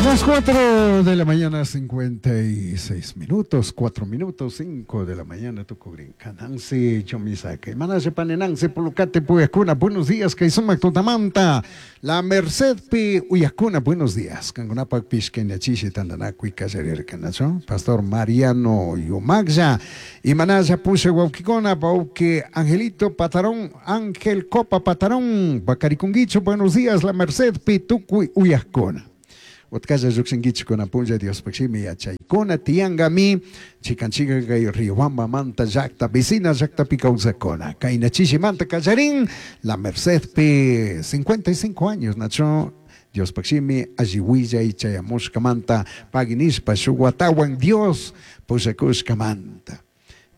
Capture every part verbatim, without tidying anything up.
Las cuatro de la mañana, cincuenta y seis minutos, cuatro minutos, cinco de la mañana, tukugrinka. Nancy Chomisaka. Manashe pane Nancy Pulucate Puyacuna, buenos días, kay tutamanta. La Merced pi Uyacuna, buenos días. Kankunapak pishkeñachishi tandanakuy kallarirka, nacho? Pastor Mariano Yumagya. Y Manaya Pushe Wauquicona, Bauque Angelito Patarón, Ángel Copa Patarón, Bacariconguicho, buenos días, La Merced pi tukuy Uyacuna. Utkalla lluksinkichik punlla Diospaj shimi yachaykuna tiyangami chikan chikan kay Riobamba manta llakta vecina llaktapi kawsakuna kayna chishimanta kallarin La Mercedpi cincuenta y cinco años, nacho, Diospaj shimi alli willay chayamushkamanta pagui nishpa shuk watawan Dios pushakushkamanta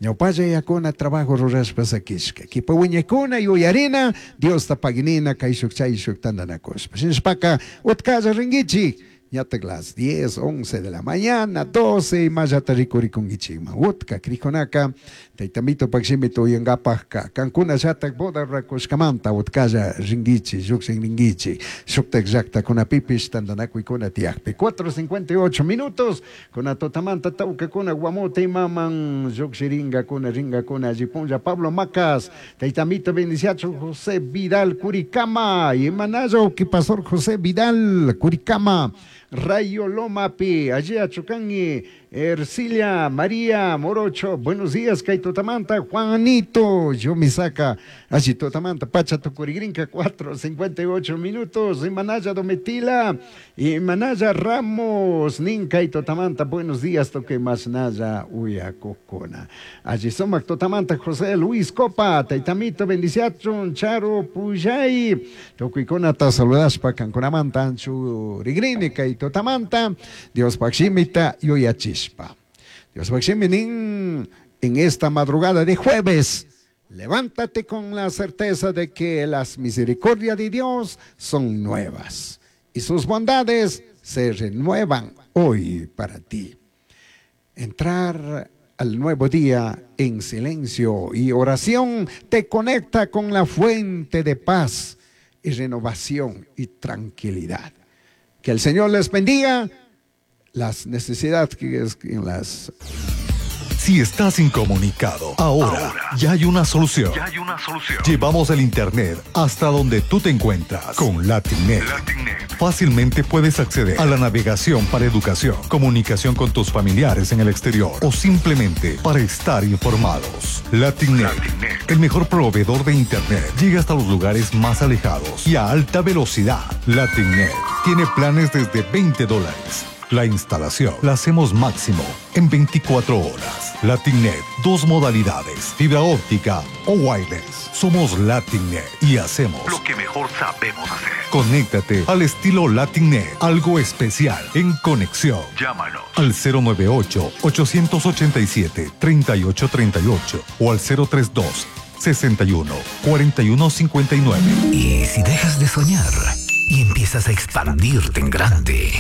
ñawpalla yakuna trabajo rurashpa sakishka kipa wiñakuna yuyarina Diosta paginina kayshuk chayshuk tandanakushpa shinashpaka utkalla ringuichik ñatak las diez, once de la mañana, doce y mayata rikurikunkichikman. Utka krikunaka, taytamito pakshimi uyankapajka, kankuna llatak boda rurakushkamanta utkalla ringuichi, lluksin ringuichi, shuktak llaktakunapipish tandanakuykuna tiyakpi. cuatro cincuenta y ocho minutos, kuna tutamanta tawkakuna Guamote imaman llukshiringakuna ringakuna alli punlla Pablo Macas, taytamito bendiciacho José Vidal Curicama, y manayo que pastor José Vidal Curicama, Rayo Lomapi, allí Achucangui, Ercilia María Morocho, buenos días, kay tutamanta, Juanito, yo me saca, allí tutamanta, Pacha Tucurigrinca, cuatro cincuenta y ocho minutos, y Manaya Dometila, y Manaya Ramos, Ninca y tutamanta, buenos días, toque más Naya, Uya Cocona. Allí somos tutamanta, José Luis Copa, Taitamito, bendiciachun, Charo Puyay, Tocuicona, ta saludaspa, Cancunamanta, Anchu Rigrini, kay tutamanta, Diospaj shimita, yuyachishpa. Diospaj shimi nin en esta madrugada de jueves, levántate con la certeza de que las misericordias de Dios son nuevas y sus bondades se renuevan hoy para ti. Entrar al nuevo día en silencio y oración te conecta con la fuente de paz y renovación y tranquilidad. Que el Señor les bendiga las necesidades que es en las Si estás incomunicado, ahora, ya hay una solución. Ya hay una solución. Llevamos el Internet hasta donde tú te encuentras con LatinNet. LatinNet. Fácilmente puedes acceder a la navegación para educación, comunicación con tus familiares en el exterior o simplemente para estar informados. LatinNet, LatinNet. El mejor proveedor de Internet, llega hasta los lugares más alejados y a alta velocidad. LatinNet tiene planes desde veinte dólares. La instalación la hacemos máximo en veinticuatro horas. LatinNet, dos modalidades, fibra óptica o wireless. Somos LatinNet y hacemos lo que mejor sabemos hacer. Conéctate al estilo LatinNet, algo especial en conexión. Llámanos al cero nueve ocho, ochocientos ochenta y siete, treinta y ocho treinta y ocho o al cero tres dos, sesenta y uno, cuarenta y uno cincuenta y nueve. ¿Y si dejas de soñar y empiezas a expandirte en grande?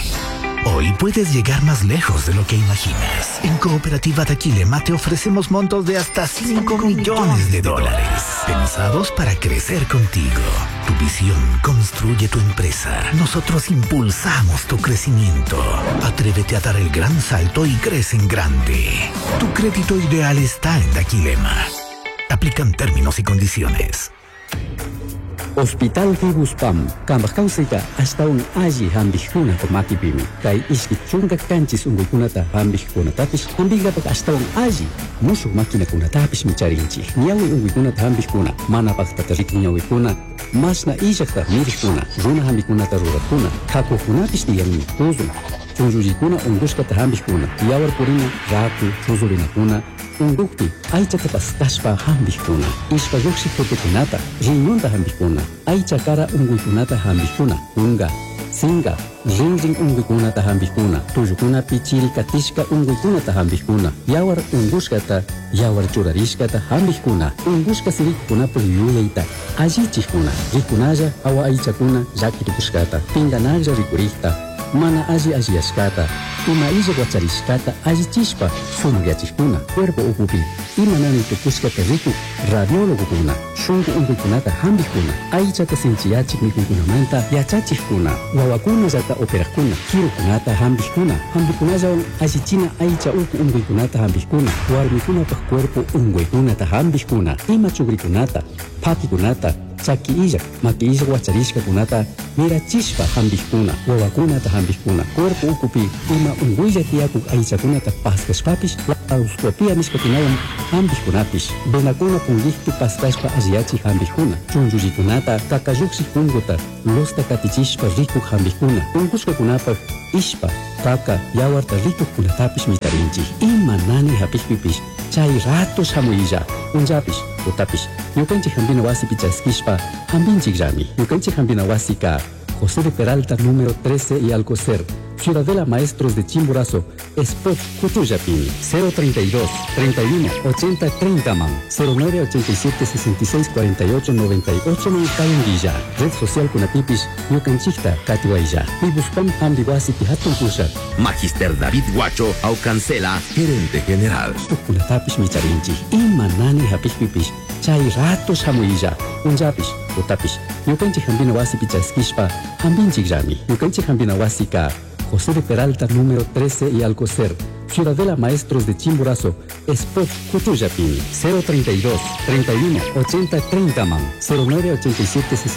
Hoy puedes llegar más lejos de lo que imaginas. En Cooperativa Daquilema te ofrecemos montos de hasta cinco millones de dólares, pensados para crecer contigo. Tu visión construye tu empresa. Nosotros impulsamos tu crecimiento. Atrévete a dar el gran salto y crece en grande. Tu crédito ideal está en Daquilema. Aplican términos y condiciones. Hospital Fibuspam, kambaj kawsayta ashtawan alli hampikkunapa makipimi. Kay ishki chunka kanchis unkuykunata hampikkunatapish hampinkapak ashtawan alli mushuk maquinakunatapishmi charinchik. Ñawi unkuykunata hampikkuna, mana paktata rikun ñawikuna, mashna illakta mirikkuna, runa hampikunata rurakkuna, kakukunapish tiyanmi, tuzun, chunllullikuna unkushkata hampikkuna, yawar purina, raku, chuzurinakuna, unkukpi aychata paskashpa hampikkuna, ishpa llukshik tutukunata, riñonta hampikkuna, aycha kara unkuykunata hampikkuna, kunka, sinka, rinrin unkuykunata hampikkuna, tullukunapi chiri katishka unkuykunata hampikkuna, yawar unkushkata, yawar churarishkata hampikkuna, unkushka sirikukunapuk yuyayta allichikkuna, rikunalla awa aychakuna llaki tukushkata, pinkanaklla rikurikta, mana alli alliyashkata, Ima illa wacharishkata allichishpa sumakyachikuna, cuerpo ukupi ima nanay tukushkata rikuk radiólogokuna, shunku unkuykunata hampikuna, aychata sinchiyachik mikuykunamanta yachachikkuna, wawakunallata operakuna, kirukunata hampikkuna, hampikunallawan allichina aycha uku unkuykunata hampikkuna, warmikunapaq cuerpo unkuykunata hampikkuna, ima chukrikunata, phakikunata, chaki illak, maki illak wacharishkakunata mirachishpa hampikkuna, wawakunata hampikkuna, cuerpo ukupi ima unkuylla tiyakuk aychakunata paskashpapish laparoscopia nishkakunawan hampikkunapish, venakuna punkikpi paskashpa alliyachik hampikkuna, chunchullikunata kakallukshik punkuta lusta katichishpa rikuk hampikkuna, unkushkakunapak ishpa, kaka, yawarta rikukkunatapish mitarinchik. Ima nanay hapikpipish chay rato shamuylla, punllapish, tutapish, ñukanchik hampina wasipi chaskishpa hampinchikllami. Ñukanchik hampina wasika José de Peralta número trece y Alcocer, Ciudadela Maestros de Chimborazo, Spot Cuchuyapini, cero treinta y dos, treinta y uno, ochenta, treinta man, cero nueve ochenta y siete, sesenta y seis, cuarenta y ocho, noventa y ocho, Cayanguilla, Red Social Kunapipis, Ñukanchikta, Katiwaya, Pibuspam Hambiwasi Pihatun Pusha. Magister David Guacho Aucancela, gerente general. Kunatapish micharinchi, ima nani hapikpipish, chay rato shamuyilla, punllapish, tutapish, ñukanchik hampina wasipi chaskishpa hampinchikllami. Ñukanchik hampina wasika José de Peralta número trece y Alcocer, Ciudadela Maestros de Chimborazo, Spot Cuchuyapini, cero treinta y dos, treinta y uno, ochenta, treinta man, cero nueve ochenta y siete, sesenta